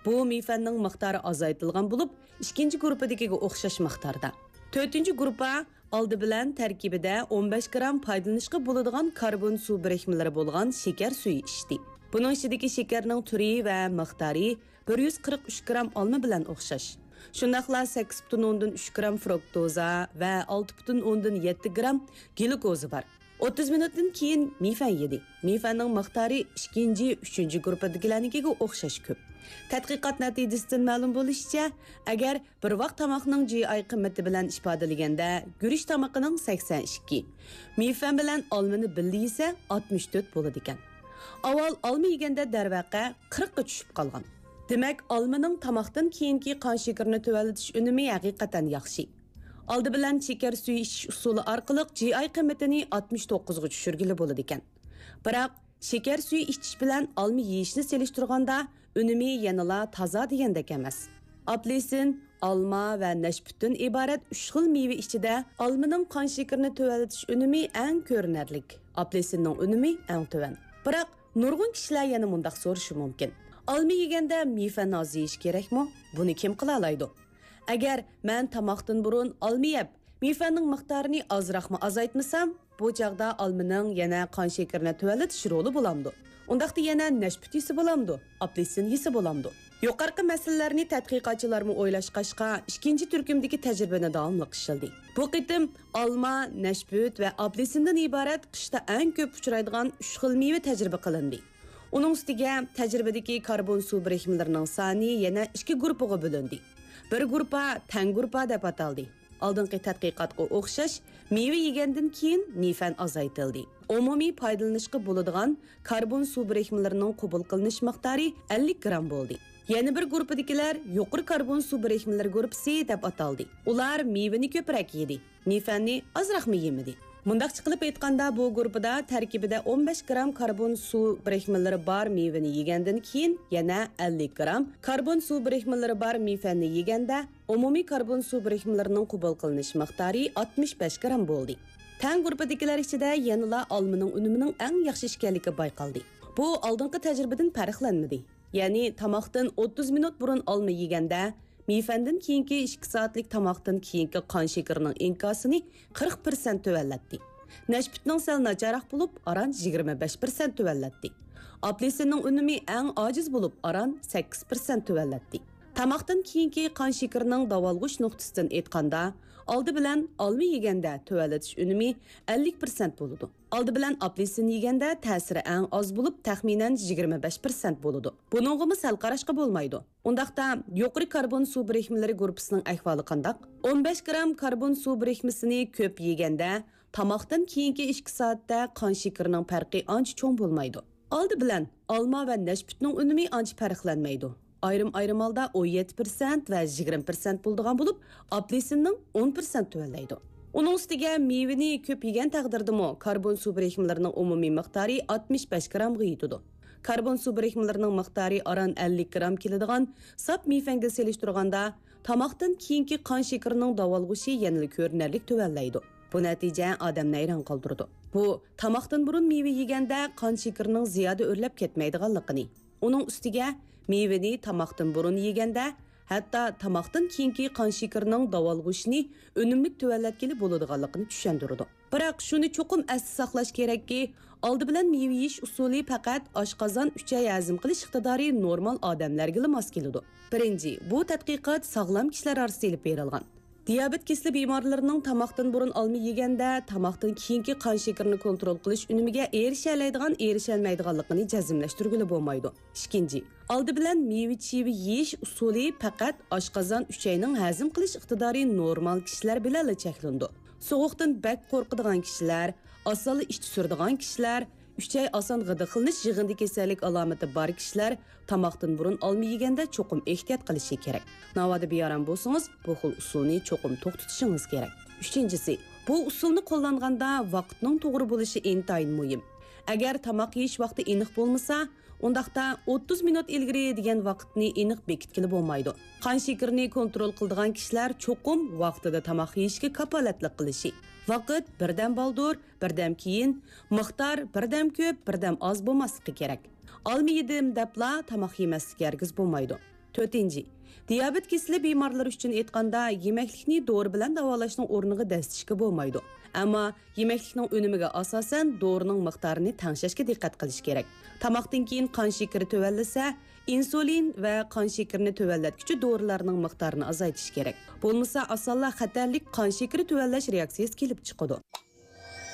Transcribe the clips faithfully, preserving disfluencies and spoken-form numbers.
بۇ مېيفەننىڭ مىقدارى ئازايتىلغان بولۇپ، ئىككىنچى گۇرۇپپىدىكىگە ئوخشاش مىقداردا. تۆتىنچى گۇرۇپپا ئالدى بىلەن تەركىبىدە ئون بەش گرام پايدىلىنىشقا بولىدىغان كاربون سۇ بىرىكمىلىرى بولغان شېكەر سۈيى ئىچتى. بۇنىڭ ئىچىدىكى شېكەرنىڭ تۈرى ۋە مىقدارى بىر يۈز قىرىق ئۈچ گرام ئالما بىلەن ئوخشاش. شۇنداقلا سەككىز پۈتۈن ئوندىن ئۈچ گرام فرۇكتوزا ۋە ئالتە پۈتۈن ئوندىن يەتتە گرام گلۇكوزا بار. ئوتتۇز مىنۇتتىن كېيىن مېيفەن يېدى. مېيفەننىڭ مىقدارى ئىككىنچى، ئۈچىنچى گۇرۇپپىدىكىلەرنىڭكىگە ئوخشاش كۆپ. تەتقىقات نەتىجىسىدىن مەلۇم بولۇشىچە، ئەگەر بىر ۋاق تاماقنىڭ جى ئاي قىممىتى بىلەن ئىپادىلىگەندە، گۈرۈچ تامىقىنىڭ سەكسەن ئىككى، مېيفەن بىلەن ئالمىنى بىللە يېسە، ئاتمىش تۆت بولىدىكەن. ئاۋۋال ئالما يېگەندە دەرۋەقە قىرىققا چۈشۈپ قالغان. دېمەك، ئالمىنىڭ تاماقتىن كېيىنكى قان شېكىرىنى تۆۋەنلىتىش ئۈنۈمى ھەقىقەتەن ياخشى. ئالدى بىلەن شېكەر سۈيى ئىچىش ئۇسۇلى ئارقىلىق جى ئاي قىممىتىنى ئاتمىش توققۇزغا چۈشۈرگىلى بولىدىكەن. بىراق، شېكەر سۈيى ئىچىش بىلەن ئالما يېيىشنى سېلىشتۇرغاندا، ئۈنۈمى يەنىلا تازا دېگەندەك ئەمەس. ئاپېلسىن، ئالما ۋە نەشپۈتتىن ئىبارەت ئۈچ خىل مېۋە ئىچىدە ئالمىنىڭ قان شېكىرىنى تۆۋەنلىتىش ئۈنۈمى ئەڭ كۆرۈنەرلىك، ئاپېلسىننىڭ ئۈنۈمى ئەڭ تۆۋەن. بىراق، نۇرغۇن كىشىلەر يەنە مۇنداق سورىشى مۇمكىن: ئالما يېگەندە مېيفەن ئاز يېيىش كېرەكمۇ؟ بۇنى كىم قىلالايدۇ؟ ئەگەر مەن تاماقتىن بۇرۇن ئالما يەپ، مېيفەننىڭ مىقدارىنى ئازراقمۇ ئازايتمىسام، بۇ چاغدا ئالمىنىڭ يەنە قان شېكىرىنى تۆۋەنلىتىش رولى بولامدۇ؟ ئۇنداقتا يەنە نەشپۈت يېسە بولامدۇ؟ ئاپېلسىن يېسە بولامدۇ؟ يۇقىرىقى مەسىلىلەرنى تەتقىقاتچىلارمۇ ئويلاشقاچقا، ئىككىنچى تۈركۈمدىكى تەجرىبىنى داۋاملىق ئىشلىدى. بۇ قېتىم ئالما، نەشپۈت ۋە ئاپېلسىندىن ئىبارەت قىشتا ئەڭ كۆپ ئۇچرايدىغان ئۈچ خىل مېۋە تەجرىبە قىلىندى. ئۇنىڭ ئۈستىگە تەجرىبىدىكى كاربون سۇ بىرىكمىلىرىنىڭ سانى يەنە ئىككى گۇرۇپپىغا بۆلۈندى. بىر گۇرۇپپا تەڭ گۇرۇپپا دەپ ئاتالدى. ئالدىنقى تەتقىقاتقا ئوخشاش، مېۋە يېگەندىن كېيىن مېيفەن ئازايتىلدى. ئومۇمىي پايدىلىنىشقا بولىدىغان كاربون سۇ بىرىكمىلىرىنىڭ قوبۇل قىلىنىش مىقدارى ئەللىك گرام بولدى. يەنە بىر گۇرۇپپىدىكىلەر يۇقىرى كاربون سۇ بىرىكمىلىرى گۇرۇپپىسى دەپ ئاتالدى. ئۇلار مېۋىنى كۆپرەك يېدى، مېيفەننى ئازراقمۇ يېمىدى. مۇنداقچە قىلىپ ئېيتقاندا، بۇ گۇرۇپپىدا تەركىبىدە ئون بەش گرام كاربون سۇ بىرىكمىلىرى بار مېۋىنى يېگەندىن كېيىن، يەنە ئەللىك گرام كاربون سۇ بىرىكمىلىرى بار مېيفەننى يېگەندە، ئومۇمىي كاربون سۇ بىرىكمىلىرىنىڭ قوبۇل قىلىنىش مىقدارى ئاتمىش بەش گرام بولدى. تەڭ گۇرۇپپىدىكىلەر ئىچىدە يەنىلا ئالمىنىڭ ئۈنۈمىنىڭ ئەڭ ياخشى ئىكەنلىكى بايقالدى. بۇ ئالدىنقى تەجرىبىدىن پەرقلەنمىدى. يەنى تاماقتىن ئوتتۇز مىنۇت بۇرۇن ئالما يېگەندە، مېيفەندىن كېيىنكى ئىككى سائەتلىك تاماقتىن كېيىنكى قان شېكىرىنىڭ ئىنكاسىنى قىرىق پىرسەنت تۆۋەنلەتتى. نەشپۈتنىڭ سەل ناچارراق بولۇپ، ئاران يىگىرمە بەش پىرسەنت تۆۋەنلەتتى. ئاپېلسىننىڭ ئۈنۈمى ئەڭ ئاجىز بولۇپ، ئاران سەككىز پىرسەنت تۆۋەنلەتتى. تاماقتىن كېيىنكى قان شېكىرىنىڭ داۋالغۇش نۇقتىسىدىن ئېيتقاندا، ئالدى بىلەن ئالما يېگەندە تۆۋەنلىتىش ئۈنۈمى ئەللىك پىرسەنت بولىدۇ. ئالدى بىلەن ئاپېلسىن يېگەندە تەسىرى ئەڭ ئاز بولۇپ، تەخمىنەن يىگىرمە بەش پىرسەنت بولىدۇ. بۇنىڭغىمۇ سەل قاراشقا بولمايدۇ. ئۇنداقتا، يۇقىرى كاربون سۇ بىرىكمىلىرى گۇرۇپپىسىنىڭ ئەھۋالى قانداق؟ ئون بەش گرام كاربون سۇ بىرىكمىسىنى كۆپ يېگەندە، تاماقتىن كېيىنكى ئىككى سائەتتە قان شېكىرىنىڭ پەرقى ئانچە چوڭ بولمايدۇ. ئالدى بىلەن ئالما ۋە نەشپۈتنىڭ ئۈنۈمى ئانچە پەرقلەنمەيدۇ. ئايرىم-ئايرىم ھالدا ئون يەتتە پىرسەنت ۋە يىگىرمە پىرسەنت بولىدىغان بولۇپ، ئاپېلسىننىڭ ئون پىرسەنت تۆۋەنلەيدۇ. ئۇنىڭ ئۈستىگە مېۋىنى كۆپ يېگەن تەقدىردىمۇ كاربون سۇ بىرىكمىلىرىنىڭ ئومۇمىي مىقدارى ئاتمىش بەش گرامغا يېتىدۇ. كاربون سۇ بىرىكمىلىرىنىڭ مىقدارى ئاران ئەللىك گرام كېلىدىغان ساپ مېيفەنگە سېلىشتۇرغاندا، تاماقتىن كېيىنكى قان شېكىرىنىڭ داۋالغۇشى يەنىلا كۆرۈنەرلىك تۆۋەنلەيدۇ. بۇ نەتىجە ئادەمنى ھەيران قالدۇرىدۇ. بۇ، تاماقتىن بۇرۇن مېۋە يېگەندە قان شېكىرىنىڭ زىيادە ئۆرلەپ كەتمەيدىغانلىقىنى، ئۇنىڭ ئۈستىگە مېۋىنى تاماقتىن بۇرۇن يېگەندە، ھەتتا تاماقتىن كېيىنكى قان شېكىرىنىڭ داۋالغۇشىنى ئۈنۈملۈك تۆۋەنلەتكىلى بولىدىغانلىقىنى چۈشەندۈرىدۇ. بىراق، شۇنى چوقۇم ئەستە ساقلاش كېرەككى، ئالدى بىلەن مېۋە يېيىش ئۇسۇلى پەقەت ئاشقازان، ئۈچەي ھەزىم قىلىش ئىقتىدارى نورمال ئادەملەرگىلا ماس كېلىدۇ. بىرىنچى، بۇ تەتقىقات ساغلام كىشىلەر ئارىسىدا ئېلىپ بېرىلغان. دىيابېت كېسىلى بىمارلىرىنىڭ تاماقتىن بۇرۇن ئالما يېگەندە، تاماقتىن كېيىنكى قان شېكىرىنى كونترول قىلىش ئۈنۈمىگە ئېرىشەلەيدىغان، ئېرىشەلمەيدىغانلىقىنى جەزملەشتۈرگىلى بولمايدۇ. ئىككىنچى، ئالدى بىلەن مېۋە-چىۋە يېيىش ئۇسۇلى پەقەت ئاشقازان، ئۈچەينىڭ ھەزىم قىلىش ئىقتىدارى نورمال كىشىلەر بىلەنلا چەكلىنىدۇ. سوغۇقتىن بەك قورقىدىغان كىشىلەر، ئاسانلا ئىچى سۈرىدىغان كىشىلەر، ئۈچەي ئاسان غىدىقلىنىش يىغىندى كېسەللىك ئالامىتى بار كىشىلەر تاماقتىن بۇرۇن ئالما يېگەندە چوقۇم ئېھتىيات قىلىشى كېرەك. ناۋادا بىئارام بولسىڭىز، بۇ خىل ئۇسۇلنى چوقۇم توختىتىشىڭىز كېرەك. ئۈچىنچىسى، بۇ ئۇسۇلنى قوللانغاندا ۋاقىتنىڭ توغرا بولۇشى ئىنتايىن مۇھىم. ئەگەر تاماق يېيىش ۋاقتى ئېنىق بولمىسا، ئۇنداقتا ئوتتۇز مىنۇت ئىلگىرى دېگەن ۋاقىتنى ئېنىق بېكىتكىلى بولمايدۇ. قان شېكىرىنى كونترول قىلىدىغان كىشىلەر چوقۇم ۋاقتىدا تاماق يېيىشكە كاپالەتلىك قىلىشى، ۋاقىت بىردەم بالدۇر، بىردەم كېيىن، مىقدار بىردەم كۆپ، بىردەم ئاز بولماسلىقى كېرەك. ئالما يېدىم دەپلا تاماق يېمەسلىك ھەرگىز بولمايدۇ. تۆتىنچى، دىيابېت كېسىلى بىمارلىرى ئۈچۈن ئېيتقاندا، يېمەكلىكنى دورا بىلەن داۋالاشنىڭ ئورنىغا دەسسىشكە بولمايدۇ. ئەمما يېمەكلىكنىڭ ئۈنۈمىگە ئاساسەن دورىنىڭ مىقدارىنى تەڭشەشكە دىققەت قىلىش كېرەك. تاماقتىن كېيىن قان شېكىرى تۆۋەنلىسە، ئىنسۇلىن ۋە قان شېكىرىنى تۆۋەنلەتكۈچى دورىلارنىڭ مىقدارىنى ئازايتىش كېرەك. بولمىسا ئاسانلا خەتەرلىك قان شېكىرى تۆۋەنلەش رېئاكسىيىسى كېلىپ چىقىدۇ.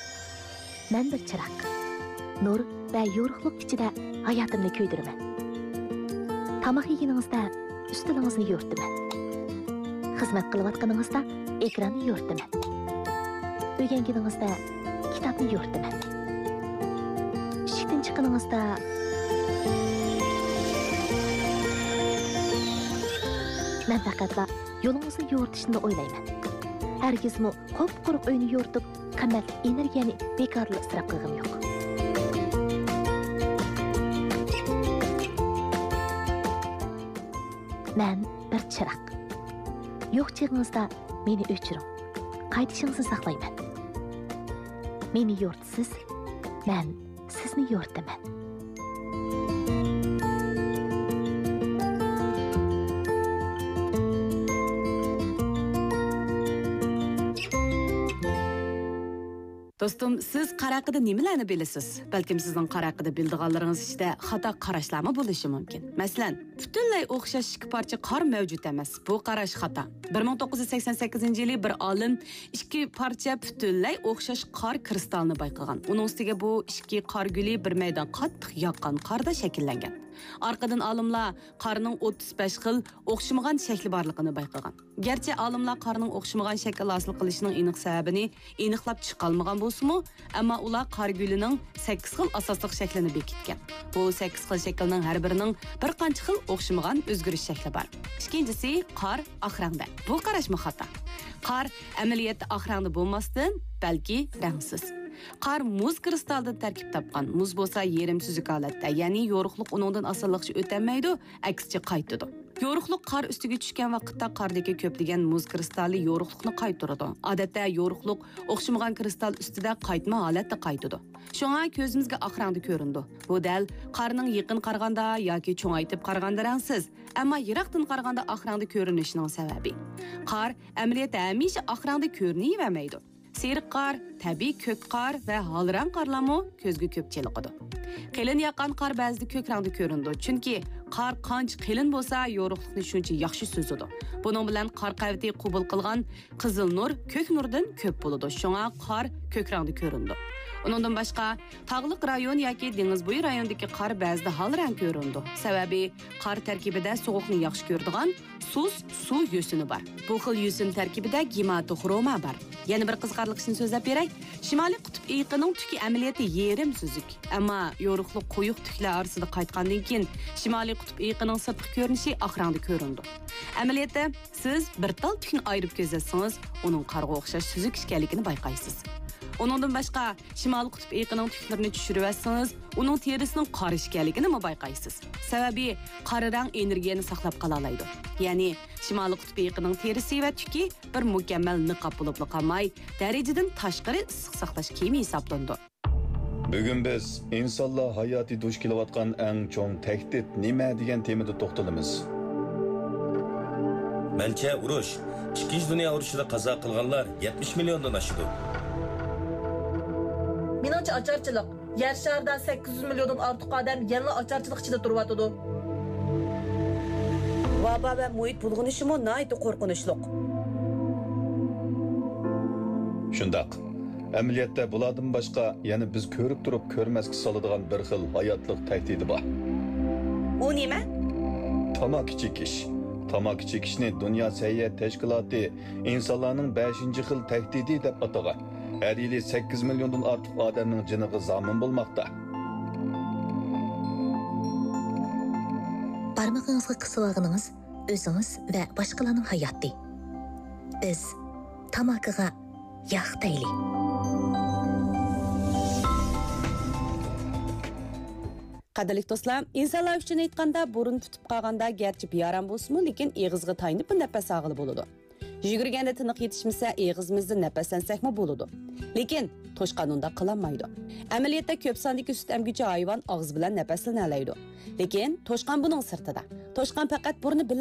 مەن بىر چىراغ. نۇر ۋە يورۇقلۇق ئىچىدە ھاياتىمنى كۆيدۈرىمەن. تاماق يېگىنىڭىزدە ئۈستىلىڭىزنى يورۇتىمەن. خىزمەت قىلىۋاتقىنىڭىزدا ئېكراننى يورۇتىمەن. ئۆگەنگىنىڭىزدە كىتابنى يورۇتىمەن. ئىشىكتىن چىققىنىڭىزدا مەن پەقەتلا يولىڭىزنى يورۇتۇشنىلا ئويلايمەن. ھەرگىزمۇ قۇپقۇرۇق ئۆينى يورۇتۇپ، قىممەتلىك ئېنېرگىيەنى بىكارلا ئىسراپ قىلغۇم يوق. مەن بىر چىراغ. يوق چېغىڭىزدا مېنى ئۆچۈرۈڭ. قايتىشىڭىزنى ساقلايمەن. مېنى يورۇتىسىز، مەن سىزنى يورۇتىمەن. دوستۇم، سىز قار ھەققىدە نېمىلەرنى بىلىسىز؟ بەلكىم سىزنىڭ قار ھەققىدە بىلىدىغانلىرىڭىز ئىچىدە خاتا قاراشلارمۇ بولۇشى مۇمكىن. مەسىلەن، پۈتۈنلەي ئوخشاش ئىككى پارچە قار مەۋجۇت ئەمەس. بۇ قاراش خاتا. بىر مىڭ توققۇز يۈز سەكسەن سەككىزىنچى يىلى بىر ئالىم ئىككى پارچە پۈتۈنلەي ئوخشاش قار كىرىستالىنى بايقىغان. ئۇنىڭ ئۈستىگە بۇ ئىككى قار گۈلى بىر مەيدان قاتتىق ياغقان قاردا شەكىللەنگەن. ئارقىدىن ئالىملار قارنىڭ ئوتتۇز بەش خىل ئوخشىمىغان شەكلى بارلىقىنى بايقىغان. گەرچە ئالىملار قارنىڭ ئوخشىمىغان شەكىل ھاسىل قىلىشىنىڭ ئېنىق سەۋەبىنى ئېنىقلاپ چىقالمىغان بولسىمۇ، ئەمما ئۇلار قار گۈلىنىڭ سەككىز خىل ئاساسلىق شەكلىنى بېكىتكەن. بۇ سەككىز خىل شەكىلنىڭ ھەر بىرىنىڭ بىر قانچە خىل ئوخشىمىغان ئۆزگىرىش شەكلى بار. ئىككىنچىسى، قار ئاق رەڭدە. بۇ قاراشمۇ خاتا. قار ئەمەلىيەتتە ئاق رەڭدە بولماستىن، بەلكى رەڭسىز. قار مۇز كىرىستالدىن تەركىب تاپقان. مۇز بولسا يېرىم سۈزۈك ھالەتتە، يەنى يورۇقلۇق ئۇنىڭدىن ئاسانلىقچە ئۆتەلمەيدۇ، ئەكسىچە قايتىدۇ. يورۇقلۇق قار ئۈستىگە چۈشكەن ۋاقىتتا قاردىكى كۆپلىگەن مۇز كىرىستالى يورۇقلۇقنى قايتۇرىدۇ. ئادەتتە يورۇقلۇق ئوخشىمىغان كىرىستال ئۈستىدە قايتما ھالەتتە قايتىدۇ. شۇڭا كۆزىمىزگە ئاق رەڭدە كۆرۈنىدۇ. بۇ دەل قارنىڭ يېقىن قارىغاندا ياكى چوڭايتىپ قارىغاندا رەڭسىز، ئەمما يىراقتىن قارىغاندا ئاق رەڭدە كۆرۈنۈشىنىڭ سەۋەبى. قار ئەمەلىيەتتە ھەمىشە ئاق رەڭدە كۆرۈنۈۋەرمەيدۇ. سېرىق قار، تەبىئىي كۆك قار ۋە ھال رەڭ قارلارمۇ كۆزگە كۆپ چېلىقىدۇ. قېلىن ياغقان قار بەزىدە كۆك رەڭدە كۆرۈنىدۇ، چۈنكى قار قانچە قېلىن بولسا، يورۇقلۇقنى شۇنچە ياخشى سۈزىدۇ. بۇنىڭ بىلەن قار قەۋىتى قوبۇل قىلغان قىزىل نۇر كۆك نۇردىن كۆپ بولىدۇ، شۇڭا قار كۆك رەڭدە كۆرۈنىدۇ. ئۇنىڭدىن باشقا، تاغلىق رايون ياكى دېڭىز بويى رايونىدىكى قار بەزىدە ھال رەڭ كۆرۈنىدۇ. سەۋەبى، قار تەركىبىدە سوغۇقنى ياخشى كۆرىدىغان سۇس سۇ يۈسۈنى بار. بۇ خىل يۈسۈن تەركىبىدە گېماتوخروما بار. يەنە بىر قىزىقارلىق ئىشنى سۆزلەپ بېرەي. شىمالىي قۇتۇپ ئېيقىنىڭ تۈكى ئەمەلىيەتتە يېرىم سۈزۈك. ئەمما يورۇقلۇق قويۇق تۈكلەر ئارىسىدا قايتقاندىن كېيىن، شىمالىي قۇتۇپ ئېيقىنىڭ سىرتقى كۆرۈنۈشى ئاق رەڭدە كۆرۈنىدۇ. ئەمەلىيەتتە، سىز بىر تال تۈكنى ئايرىپ كۆزەتسىڭىز، ئۇنىڭ قارغا ئوخشاش سۈزۈك ئىكەنلىكىنى بايقايسىز. ئۇنىڭدىن باشقا، شىمالىي قۇتۇپ ئېيقىنىڭ تۈكلىرىنى چۈشۈرۈۋەتسىڭىز، ئۇنىڭ تېرىسىنىڭ قارا ئىكەنلىكىنىمۇ بايقايسىز. سەۋەبى، قارا رەڭ ئېنېرگىيەنى ساقلاپ قالالايدۇ. يەنى، شىمالىي قۇتۇپ ئېيقىنىڭ تېرىسى ۋە تۈكى بىر مۇكەممەل نىقاب بولۇپلا قالماي، دەرىجىدىن تاشقىرى ئىسسىق ساقلاش كىيىمى ھېسابلىنىدۇ. بۈگۈن بىز ئىنسانلار ھاياتى دۇچ كېلىۋاتقان ئەڭ چوڭ تەھدىت نېمە دېگەن تېمىدا توختىلىمىز. مەنچە ئۇرۇش، ئىككىنچى دۇنيا ئۇرۇشىدا قازا قىلغانلار يەتمىش مىليوندىن ئاشىدۇ. مېنىڭچە ئاچارچىلىق. يەر شارىدا سەككىز يۈز مىليوندىن ئارتۇق ئادەم يەنىلا ئاچارچىلىق ئىچىدە تۇرۇۋاتىدۇ. ۋابا ۋە مۇھىت بۇلغىنىشىمۇ ناھايىتى قورقۇنچلۇق. شۇنداق. ئەمەلىيەتتە بۇلاردىن باشقا يەنە بىز كۆرۈپ تۇرۇپ كۆرمەسكە سالىدىغان بىر خىل ھاياتلىق تەھدىتى بار. ئۇ نېمە؟ تاماكا چېكىش. تاماكا چېكىشنى دۇنيا سەھىيە تەشكىلاتى ئىنسانلارنىڭ بەشىنچى خىل تەھدىتى دەپ ئاتىغان. ھەر يىلى سەككىز مىليوندىن ئارتۇق ئادەمنىڭ جېنىغا زامىن بولماقتا. بارمىقىڭىزغا قىسىۋالغىنىڭىز ئۆزىڭىز ۋە باشقىلارنىڭ ھاياتى. بىز تاماكىغا ياق دەيلى. قەدىرلىك دوستلار، ئىنسانلار ئۈچۈن ئېيتقاندا، بۇرۇن پۈتۈپ قالغاندا گەرچە بىئارام بولسىمۇ، لېكىن ئېغىزغا تايىنىپلا نەپەس ئالغىلى بولىدۇ. يۈگۈرگەندە تىنىق يېتىشمىسە، ئېغىزىمىزدىن نەپەسلەنسەكمۇ بولىدۇ. لېكىن توشقان ئۇنداق قىلالمايدۇ. ئەمەلىيەتتە كۆپ ساندىكى سۈت ئەمگۈچى ھايۋان ئاغزى بىلەن نەپەسلىنەلەيدۇ. لېكىن توشقان بۇنىڭ سىرتىدا. توشقان پەقەت بۇرنى بىلەن